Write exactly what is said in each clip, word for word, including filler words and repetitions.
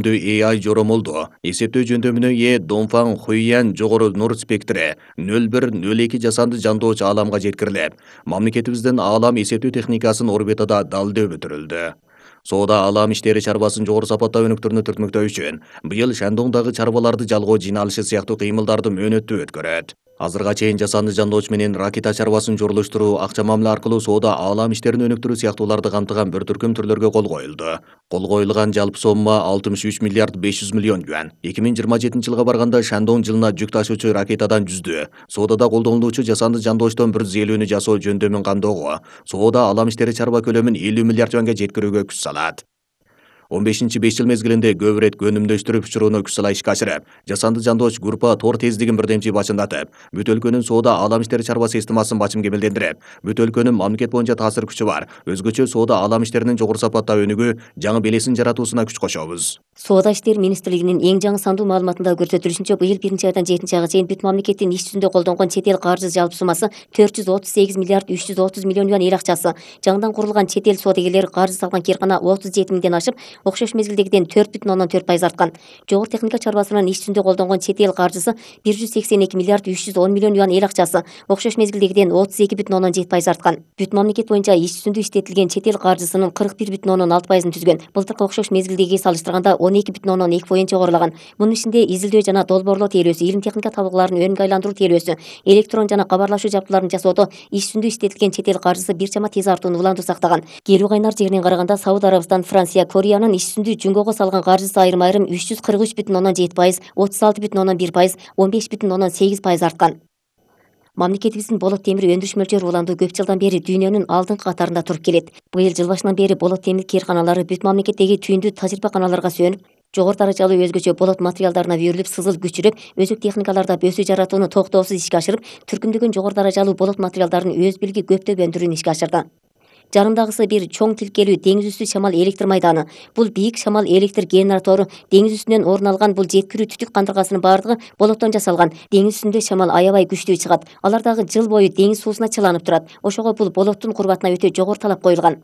A I жоромолду эсептөө жөндөмүнө ээ Донфан Хуйян жогору нур спектри нөл бир нөл эки жасанды жандооч ааламга жеткирилип, мамлекетибиздин аалам эсептөө техникасын орбитада далдөө бүтүрүлдү. Соода аалам иштери чарбасын жогору сапаттап өнүктүрүүнү түртмөктөө үчүн быйыл Шандоңдагы чарбаларды жалгоо жыйналышы сыяктуу кыймылдарды мөөнөттүү өткөрөт. Азырга чейин жасанды жандооч менен ракета чарбасын жорулуштуруу, акча мамиле аркылуу соода аалам иштерин өнүктүрүү сыяктууларды камтыган бир түркүм түрлөргө кол коюлду. Кол коюлган жалпы сомма алтымыш үч миллиард беш жүз миллион юань. эки миң жыйырма жетинчи жылга барганда Шандоң жылына жүк ташуучу ракетадан жүздү, соодада колдонулуучу жасанды жандоочтон бир жүз элүүнү жасоо жөндөмүн камдоого, соода аалам иштери чарба көлөмүн элүү миллиард юанга жеткирүүгө күч салат. он бешинчи беш жыл мезгилинде көп ирет өнүмдөштүрүп учурууну күч сала ишке ашырып, жасанды жандооч группа тор тездигин бирдемчи бачымдатып, бүт өлкөнүн соода аалам иштери чарба системасын бачым кемелдендирип, бүт өлкөнүн мамлекет боюнча таасир күчү бар, өзгөчө соода аалам иштеринин жогору сапатта өнүгүү, жаңы белесин жаратуусуна күч кошобуз. Соода иштери министрлигинин эң жаңы сандуу маалыматында көрсөтүлүшүнчө, быйыл биринчи айдан жетинчи айга чейин бүт мамлекеттин иш жүзүндө колдонгон чет эл каржы жалпы суммасы төрт жүз отуз сегиз миллиард үч жүз отуз миллион юань эл акчасы. Жаңыдан курулган чет эл соодагерлери каржы салган кыйркана отуз жети миңден ашып, окшош мезгилдегиден төрт бүтүн ондон төрт пайыз арткан. Жогору техника чарбасынан иш жүзүндө колдонгон чет эл каржысы бир жүз сексен эки миллиард үч жүз он миллион юань эл акчасы, окшош мезгилдегиден отуз эки бүтүн ондон жети пайыз арткан. Бүт мамлекет боюнча иш жүзүндө иштетилген чет эл каржысынын кырк бир бүтүн ондон алты пайызын түзгөн. Былтыркы окшош мезгилдегиге салыштырганда он эки бүтүн ондон эки пайыз жогорулаган. Мунун ичинде изилдөө жана долбоорлоо тейлөөсү, илим техника табылгаларын өнүгө айландыруу тейлөөсү, электрон жана кабарлашуу жабдууларын жасоодо иш жүзүндө иштетилген чет эл каржысы бир чама тез артууну улантуу сактаган. Келүү кайнар жегинен караганда Сауд Арабистан, Франция, Кореянын иш жүзүндө жумгого салган каржысы айрым айрым үч жүз кырк үч бүтүн ондон жети пайыз, отуз алты бүтүн ондон бир пайыз, он беш бүтүн ондон сегиз пайыз арткан. Мамлекетибиздин болот темир өндүрүш мөлчөрү уланду көп жылдан бери дүйнөнүн алдыңкы катарында туруп келет. Быйыл жыл башынан бери болот темир кыйрканалары бүт мамлекеттеги түйүндү тажрыйбаканаларга сүйөнүп, жогору даражалуу өзгөчө болот материалдарына үйрүлүп, сызыл күчүрөп, өзөк техникаларда бөсүү жаратууну токтоосуз ишке ашырып, түркүмдөгөн жогору даражалуу болот материалдарын өз билги көптөп өндүрүүнү ишке ашырды. Жарымдагысы бир чоң тилкелүү деңиз үстү шамал электр майданы. Бул бийик шамал электр генератору, деңиз үстүнөн орун алган бул жеткирүү түтүк кандыргасынын баардыгы болоттон жасалган. Деңиз үстүндө шамал аябай күчтүү чыгат. Алар дагы жыл бою деңиз суусуна чыланып турат. Ошого бул болоттун курбатына өтө жогору талап коюлган.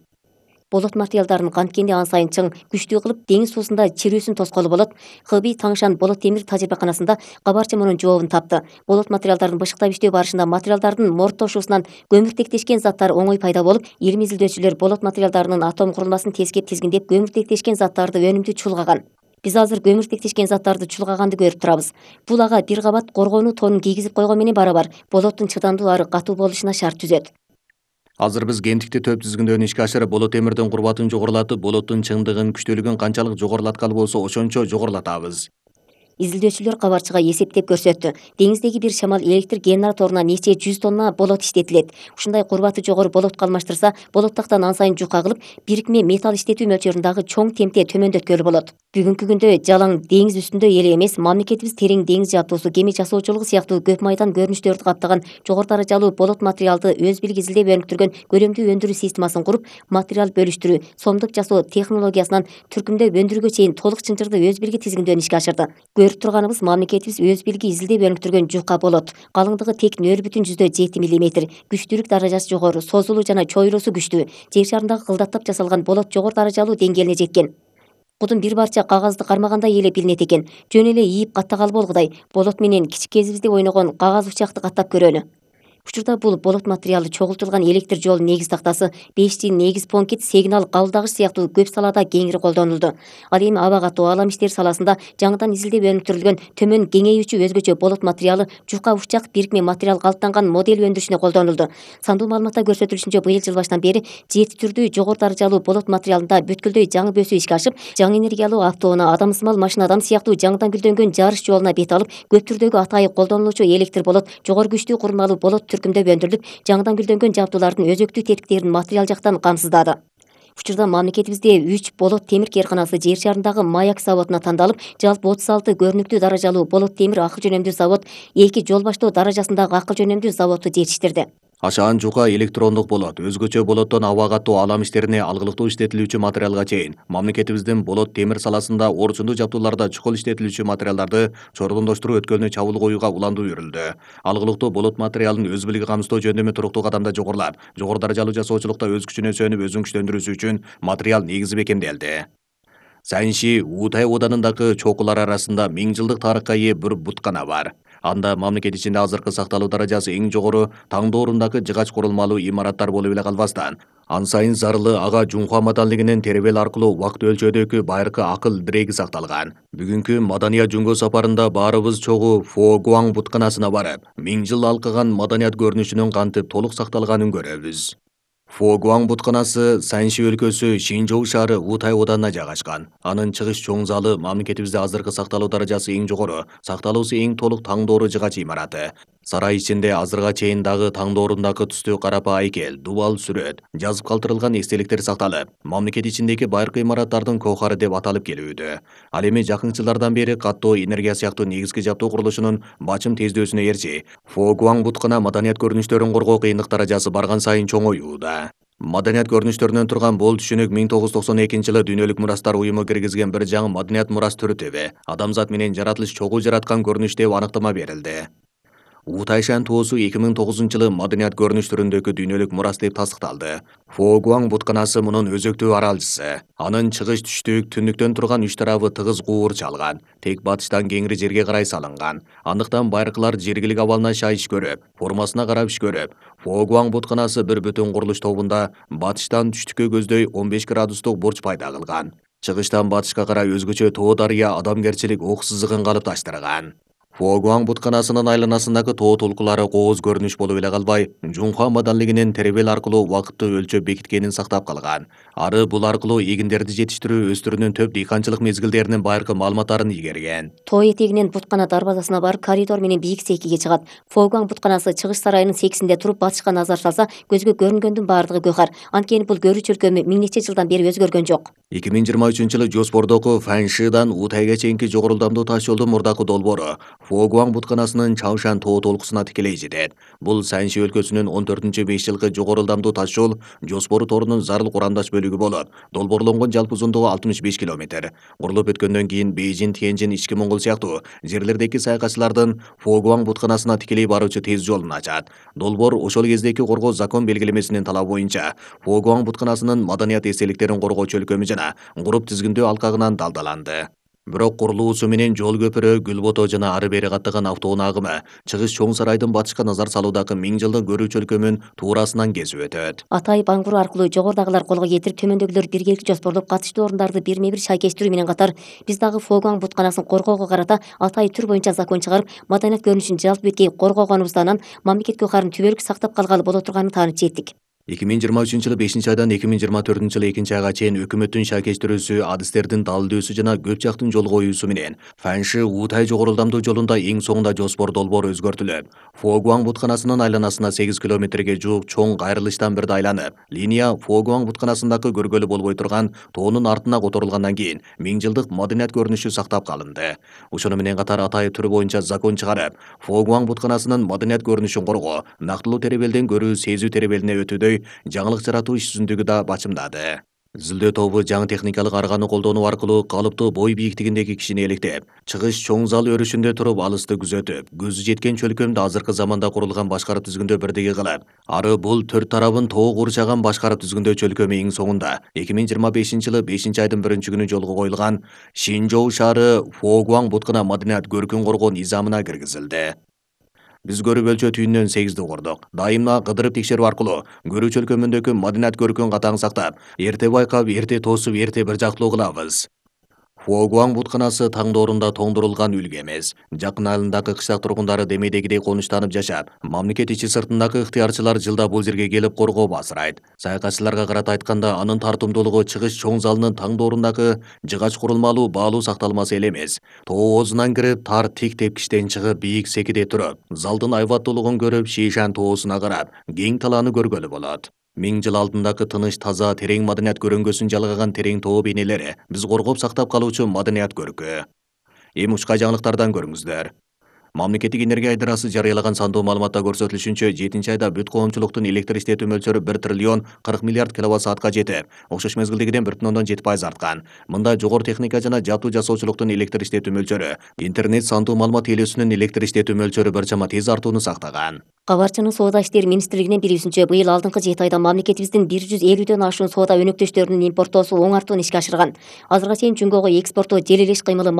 Болот материалдарын канткенде ан сайын чың, күчтүү кылып деңиз суусунда чирүүсүн тоскоолу болот. Хыби Таңшан болот темир тажрыйбаканасында кабарчы мунун жообун тапты. Болот материалдарын бышыктап иштөө барышында материалдардын морттошуусунан көмүртектешкен заттар оңой пайда болуп, илим изилдөөчүлөр болот материалдарынын атом курулмасын тескеп тизгиндеп көмүртектешкен заттарды өнүмдүү чулгаган. Биз азыр көмүртектешкен заттарды чулгаганды көрүп турабыз. Бул ага бир кабат коргонуу тонун кийгизип койгон менен барабар болоттун чыдамдуу ары катуу болушуна шарт түзөт. Азыр биз гендикти төп тизгиндөөнү ишке ашырып, болот темирдин курбатын жогорулатып, болоттун чыңдыгын, күчтүүлүгүн канчалык жогорулаткалы болсо ошончо жогорулатабыз. Изилдөөчүлөр кабарчыга эсептеп көрсөттү. Деңиздеги бир шамал электр генераторуна нече жүз тонна болот иштетилет. Ушундай курбаты жогору болотко алмаштырса, болоттактан ан сайын жука кылып, бирикме металл иштетүү мөлчөрүндагы чоң темпте төмөндөткөлү болот. Бүгүнкү күндө жалаң деңиз үстүндө эле эмес, мамлекетибиз терең деңиз жабдуусу, кеме жасоочулугу сыяктуу көп майдан көрүнүштөрдү каптаган жогору даражалуу болот материалды өз билги изилдеп өнүктүргөн көлөмдүү өндүрүү системасын куруп, материал бөлүштүрүү, сомдук жасоо технологиясынан түркүмдөп өндүрүүгө чейин толук чынжырды өз билги тизгиндөөнү ишке ашырды. Көрүп турганыбыз мамлекетибиз өз билги изилдеп өнүктүргөн жука болот. Калыңдыгы тек нөл бүтүн жүздө жети миллиметр, күчтүүлүк даражасы жогору, созулуу жана чоюлуусу күчтүү. Жер шарындагы кылдаттап жасалган болот жогору даражалуу деңгээлине жеткен. Кудун бир парча кагазды кармагандай эле билинет экен. Жөн эле ийип каттагалы болгудай. Болот менен кичик кезибизде ойногон кагаз учакты каттап көрөлү. Учурда бул болот материалы чогултулган электр жол негиз тактасы, беш джи негиз понкит, сигнал кабылдагыч сыяктуу көп салада кеңири колдонулду. Ал эми аба катуу аалам иштери саласында жаңыдан изилдеп өнүктүрүлгөн төмөн кеңейүүчү өзгөчө болот материалы жука учак бирикме материал калыптанган модель өндүрүшүнө колдонулду. Сандуу маалыматта көрсөтүлүшүнчө, быйыл жыл башынан бери жети түрдүү жогору даражалуу болот материалында бүткүлдөй жаңы бөсүү ишке ашып, жаңы энергиялуу автоунаа, адамсымал машинадан сыяктуу жаңыдан гүлдөнгөн жарыш жолуна бет алып, көп түрдөгү атайык колдонулуучу электр болот, жогору күчтүү курулмалуу болот түркүмдөп өндүрүлүп, жаңыдан гүлдөнгөн жабдуулардын өзөктүү тетиктерин материал жактан камсыздады. Учурда мамлекетибизде үч болот темир кыйрканасы жер шарындагы Маяк заводуна тандалып, жалпы отуз алты көрүнүктүү даражалуу болот темир акыл жөнөмдүү завод, эки жол баштоо даражасындагы акыл жөнөмдүү заводду жетиштирди. Ашаан жука электрондук болот, өзгөчө болоттон аба катуу аалам иштерине алгылыктуу иштетилүүчү материалга чейин мамлекетибиздин болот темир саласында орчундуу жабдууларда чукул иштетилүүчү материалдарды чордондоштуруу өткөлүнө чабуул коюуга уландуу үйрүлдү. Алгылыктуу болот материалын өз билиги камсыздоо жөндөмү туруктуу кадамда жогорулап, жогору даражалуу жасоочулукта өз күчүнө сүйөнүп өзүн күчтөндүрүүсү үчүн материал негизи бекемделди. Санши Утай оданындагы чокулар арасында миң жылдык тарыхка ээ бир буткана бар. Анда мамлекет ичинде азыркы сакталуу даражасы эң жогору таңдоорундагы жыгач курулмалуу имараттар болуп эле калбастан, ан сайын зарылы ага Жунхва маданлыгынын теребел аркылуу убакыт өлчөөдөгү байыркы акыл диреги сакталган. Бүгүнкү маданият жөнгө сапарында баарыбыз чогуу Фо Гуаң бутканасына барып, миң жыл алкаган маданият көрүнүшүнүн кантип толук сакталганын көрөбүз. Фо Гуаң бутканасы Санши өлкөсү Шинжоу шаары Утай оданына жайгашкан. Анын чыгыш чоң залы мамлекетибизде азыркы сакталуу даражасы эң жогору, сакталуусу эң толук таңдоору жыгач имараты. Сарай ичинде азырга чейин дагы таңдоорундагы түстүү карапа айкел, дубал сүрөт, жазып калтырылган эстеликтер сакталып, мамлекет ичиндеги байыркы имараттардын коохары деп аталып келүүдө. Ал эми жакын жылдардан бери каттоо энергия сыяктуу негизги жабдуу курулушунун бачым тездөөсүнө ээрчи, Фо Гуаң буткана маданият көрүнүштөрүн коргоо кыйындык даражасы барган сайын чоңоюуда. Маданият көрүнүштөрүнөн турган бул түшүнүк миң тогуз жүз токсон экинчи жылы Дүйнөлүк мурастар уюму киргизген бир жаңы маданият мурас түрү тебе, адамзат менен жаратылыш чогуу жараткан көрүнүш деп аныктама берилди. Утайшан тоосу эки миң тогузунчу жылы маданият көрүнүш түрүндөгү дүйнөлүк мурас деп тастыкталды. Фо Гуаң бутканасы мунун өзөктүү аралчысы. Анын чыгыш түштүк, түндүктөн турган үч тарабы тыгыз куур чалган, тек батыштан кеңири жерге карай салынган. Андыктан байыркылар жергилик абалына шай иш көрүп, формасына карап иш көрүп, Фо Гуаң бутканасы бир бүтүн курулуш тобунда батыштан түштүккө көздөй он беш градустук бурч пайда кылган. Чыгыштан батышка карай өзгөчө тоо дарыя адамгерчилик ок сызыгын калыпташтырган. Фо Гуаң бутканасынын айланасындагы тоо толкулары кооз көрүнүш болуп эле калбай, Жунхва маданлыгынын теребел аркылуу убакытты өлчөп бекиткенин сактап калган. Ары бул аркылуу эгиндерди жетиштирүү, өстүрүүнүн төп дыйканчылык мезгилдеринин байыркы маалыматтарын игерген. Тоо этегинен буткана дарбазасына барып, коридор менен бийик сейкиге чыгат. Фо Гуаң бутканасы чыгыш сарайынын секисинде туруп батышка назар салса, көзгө көрүнгөндүн баардыгы гөөхар. Анткени бул көрүүчү өлкө миң нече жылдан бери өзгөргөн жок. эки миң жыйырма үчүнчү жылы Жоспордогу Фаншидан Утайга чейинки жогорулдамдуу таш жолдун мурдакы долбоору Фо Гуаң бутканасынын Чаошан тоо толкусуна тикелей жетет. Бул Санши өлкөсүнүн он төртүнчү беш жылкы жогорулдамдуу таш жол Жоспору торунун зарыл курамдаш бөлүгү болуп, долбоорлонгон жалпы узундугу алтымыш беш километр. Курулуп өткөндөн кийин Бейжин, Тяньжин, Ички Моңгол сыяктуу жерлердеки саякатчылардын Фо Гуаң бутканасына тикелей баруучу тез жолун ачат. Долбоор ошол кездеки коргоо закон белгилемесинин талабы боюнча Фо Гуаң бутканасынын маданият эстеликтерин коргоочу өлкөмү жана груп тизгиндөө алкагынан далдаланды. Бирок курулуусу менен жол көпүрө, гүл бото жана ары бери каттаган автоунаа агымы чыгыш чоң сарайдын батышка назар салуудагы миң жылдык көрүүчү өлкөмүн туурасынан кесип өтөт. Атай баңгуру аркылуу жогорудагылар колго кетирип, төмөндөгүлөр биргеликти жоспорлоп, катыштуу орундарды бирме бир шайкештирүү менен катар, биз дагы Фо Гуаң бутканасын коргоого карата Атай түр боюнча закон чыгарып, маданият көрүнүшүн жалпы беткей коргогонубузда анан мамлекет көөхарын түбөлүк сактап калгалы боло турганын таанып жеттик. эки миң жыйырма үчүнчү жылы бешинчи айдан эки миң жыйырма төртүнчү жылы экинчи айга чейин өкмөттүн шайкештирүүсү, адистердин далилдөөсү жана көп жактын жол коюусу менен Фанши Утай жогорулдамдуу жолунда эң соңунда Жоспор долбоору өзгөртүлүп, Фо Гуаң бутканасынын айланасына сегиз километрге жуук чоң кайрылыштан бирде айланып, линия Фо Гуаң бутканасындагы көргөлү болбой турган тоонун артына которулгандан кийин миң жылдык маданият көрүнүшү сактап калынды. Ошону менен катар Атай түрү боюнча закон чыгарып, Фо Гуаң бутканасынын маданият көрүнүшүн коргоо, нактылуу теребелден көрүү сезүү теребелине өтүүдөй жаңылык жаратуу иш жүзүндүгү да бачымдады. Изилдөө тобу жаңы техникалык арганы колдонуу аркылуу калыптуу бой бийиктигиндеги кишини электеп, чыгыш чоң зал өрүшүндө туруп алысты күзөтүп, көзү жеткен чөлкөмдү азыркы заманда курулган башкарып түзгүндө бирдеги кылып, ары бул төрт тарабын тоо курчаган башкарып түзгүндө чөлкөмү эң соңунда эки миң жыйырма бешинчи жылы бешинчи айдын биринчи күнү жолго коюлган Шинжоу шаары Фо Гуаң буткана маданият көркүн коргоо низамына киргизилди. Биз көрүп өлчөө түйүнүнөн сегизди курдук. Дайыма кыдырып текшерүү аркылуу көрүүчү өлкөмүндөгү маданият көркүн катаң сактап, эрте байкап, эрте тоосуп, эрте бир жактылуу кылабыз. Фо Гуаң бутканасы таңдоорунда тоңдурулган үлгү эмес. Жакын айылындагы кыштак тургундары демейдегидей конуштанып жашап, мамлекет ичи сыртындагы ыктыярчылар жылда бул жерге келип коргоо басырайт. Саякатчыларга карата айтканда, анын тартымдуулугу чыгыш чоң залынын таңдоорундагы жыгач курулмалуу баалуу сакталмасы эле эмес. Тоо оозунан кирип, тар тик тепкичтен чыгып, бийик секиде туруп, залдын айбаттуулугун көрүп, Шишан тоосуна карап, кең талааны көргөлү болот. Миң жыл алдындагы тыныч, таза, терең маданият көрөңгөсүн жалгаган терең тоо бейнелери биз коргоп сактап калуучу маданият көркү. Эми учка жаңылыктардан көрүңүздөр. Мамлекеттик энергия айдарасы жарыялаган сандуу маалыматта көрсөтүлүшүнчө, жетинчи айда бүт коомчулуктун электр иштетүү мөлчөрү бир триллион кырк миллиард киловатт саатка жетип, окшош мезгилдегиден бир бүтүн ондон жети пайыз арткан. Мында жогору техника жана жабдуу жасоочулуктун электр иштетүү мөлчөрү, интернет сандуу маалымат ээлөөсүнүн электр иштетүү мөлчөрү бир чама тез артууну сактаган. Кабарчынын Соода иштери министрлигинин билүүсүнчө, быйыл алдыңкы жети айда мамлекетибиздин бир жүз элүүдөн ашуун соода өнөктөштөрүнүн импортоосу оң артуун ишке ашырган. Азыркыга чейин Жумгого экспорттоо жел элеш кыймылы